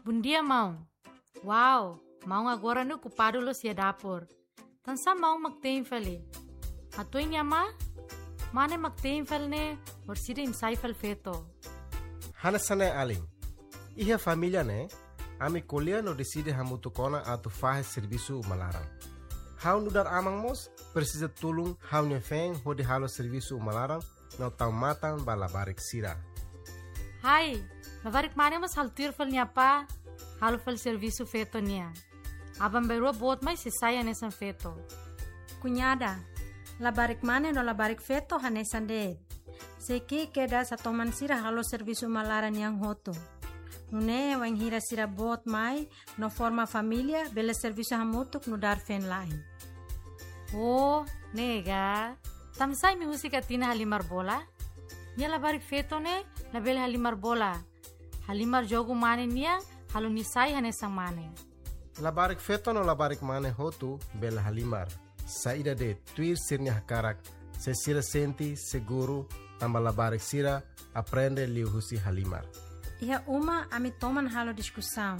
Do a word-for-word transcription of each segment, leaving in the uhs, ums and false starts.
Bondia, maun. Wow, maun agora ne'e okupadu loos iha dapur. Tansá maun mak tein fali? Hatuan nia amá, mane mak tein fali ne'e, orsida imi sai fali feto. Hanesan ne'e alin. Iha família ne'e, ami ko'alia no deside hamutuk ona atu fahe servisu uma laran. Ha'u nu'udar aman mós presiza tulun ha'u-nia feen hodi halo servisu uma laran no tau matan ba labarik sira. Hai, labarik mane mós halo tuir fali nia apá, halo fali servisu feto nian. Aban-bainrua boot mai sei sai hanesan feto. Kuñada, labarik mane no labarik feto hanesan de'it. Sei ki'ik kedas atu toman sira halo servisu uma laran nian hotu. Nune'e wainhira sira boot mai no forma família, bele servisu hamutuk nu'udar feen-la'en. Oh, ne'e ka. Tansá imi husik Atina halimar bola? Nia labarik feto ne'e labele halimar bola. Halimar jogu mane nian, halo nia sai hanesan mane. Labarik feto no labarik mane hotu bele halimar. Saida de'it, tuir sira-nia hakarak, se sira sente seguru, tanba labarik sira aprende liuhusi halimar. Iha uma ami toman halo diskusaun.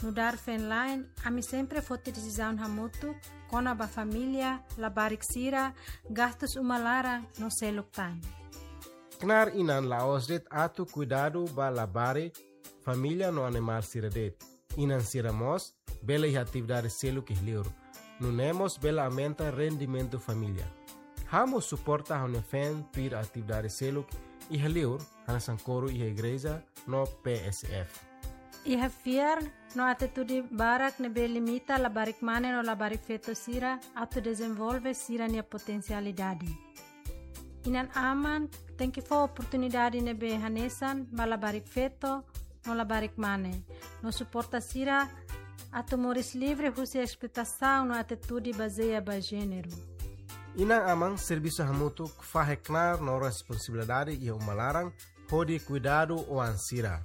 Nu'udar feen-la'en, ami sempre foti desizaun hamutuk kona-ba família, labarik sira, gastus uma laran no seluk tan. Knaar inan la'ós de'it atu kuidadu ba labarik, família no animál sira de'it. Inan sira mós bele iha atividade seluk iha li'ur. Nune'e mós bele aumenta rendimentu família. Ha'u mós suporta ha'u-nia feen tuir atividade seluk iha li'ur, hanesan koru iha igreja no P S F. Iha fiar no atitude barak ne'ebé limita labarik mane no labarik feto sira atu dezenvolve sira-nia potensialidade. Inan-aman tenke fó oportunidade ne'ebé hanesan ba labarik feto no labarik mane, no suporta sira atu moris livre husi esploitasaun no atitude bazeia ba jéneru. Inan-aman servisu hamutuk fahe knaar no responsabilidade iha uma laran hodi kuidadu oan sira.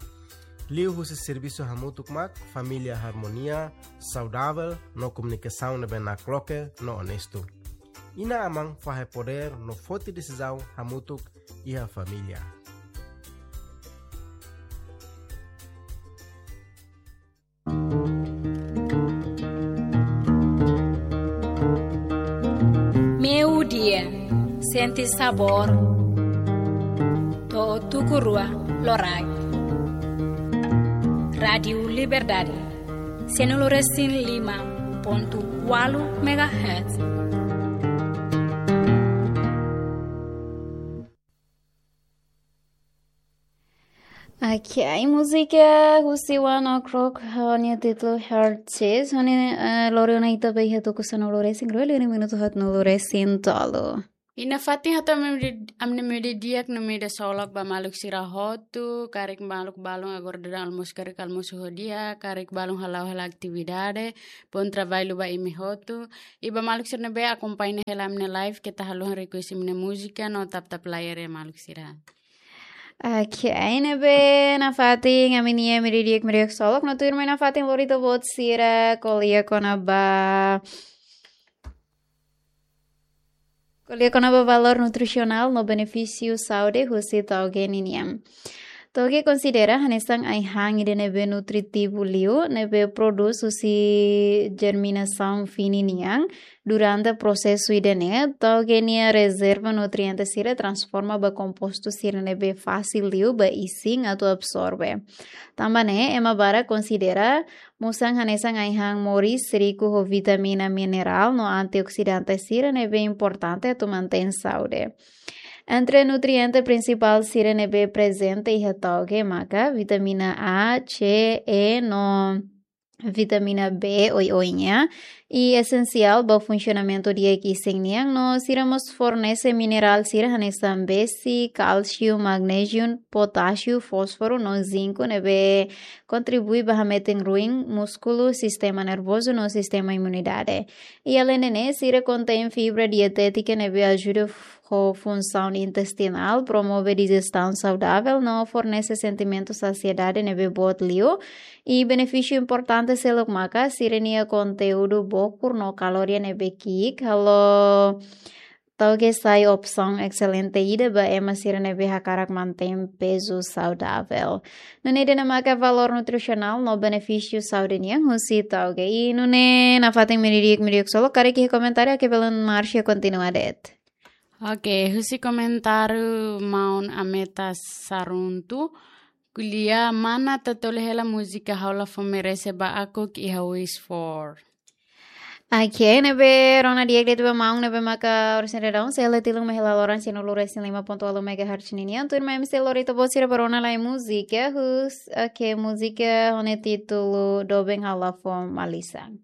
Liuhusi servisu hamutuk mak família harmonia, saudavel no komunikasaun ne'ebé nakloke no onestu. Inan-aman fahe podér no foti desizaun hamutuk iha família. Meio-dia, sente sabor. To'o tuku rua loraik. Rádiu Liberdade, sanulu-resin-lima pontu ualu megahertz. Ok, múzika husi One Ok Rock, ho nia títulu Heart Chase, ho nia, eh, lori ona ita ba iha tuku sanulu-resin-rua, liu nia minutu haatnulu-resin-tolu. I nafatin hotu ami-nia meio-dia, ami-nia meio-dia di'ak no meio-dia solok ba maluk sira hotu, karik maluk balun agora daudaun almosu, karik almosu ho di'ak, karik balun hala'o hela atividade, bom trabalho ba imi hotu. I ba maluk sira ne'ebé akompaña hela ami-nia live, keta haluha request imi-nia múzika no tap-tap layar ya maluk sira. Ok, ne'ebé nafatin ami-nia meio-dia di'ak, meio-dia solok, no tuirmai nafatin lori ita-boot sira ko'alia kona-ba, ko'alia kona-ba valór nutrisionál no benefísiu saúde husi tauge ninian. Tauge konsidera hanesan ai-han ida ne'ebé nutritivu liu, ne'ebé prodús husi jerminasaun fini nian, durante prosesu ida-ne'e, tauge nia rezerva nutriente sira transforma ba kompostu sira ne'ebé fasil liu ba isin atu absorve. Tanba ne'e, ema barak konsidera musan hanesan ai-han moris riku ho vitamina, minerál no antioksidante sira ne'ebé importante atu mantein saúde. Entre nutriente prinsipál sira ne'ebé prezente iha tauge maka vitamina A, C, E no vitamina B oioin nian, i esensiál ba funsionamentu di'ak isin nian, no sira mós fornese minerál sira hanesan besi, kálsiu, magnéziu, potásiu, fósforu no zinku ne'ebé kontribui ba hametin ruin múskulu, sistema nervozu no sistema imunidade. I aleinde ne'e, sira kontein fibra dietétika ne'ebé ajuda ho funsaun intestinál, promove dijesaun saudavel no fornese sentimentu sasiedade ne'ebé boot liu. I benefísiu importante seluk maka sira-nia konteúdu bokur no kaloria ne'ebé ki'ik, halo Tauge sai opsaun excelente ida ba ema sira ne'ebé hakarak mantein pezu saudavel. Nune'e ida-ne'e maka valór nutrisionál no benefísiu saúde nian husi tauge. I nune'e nafatin meiudia, meiudia ksolok, karik iha komentáriu, oke, belun Marcia kontinua de'it. Oke, husi komentáriu maun Ameta Saruntu, ko'alia mana Tetoli hela múzika Ha'u La Fó Merese ba Akuk iha Wish For. Oke, ne'ebé rona di'ak de'it ba maun ne'ebé maka oras ne'e daudaun sei hela tilun mai hela loron cien e um resin lima ponto ualu megahertz ninian. Tuirmai imi sei lori ita-boot sira ba rona lai múzika, hus, oke, múzika ho nia títulu Doben Ha'u La Fó Malisan.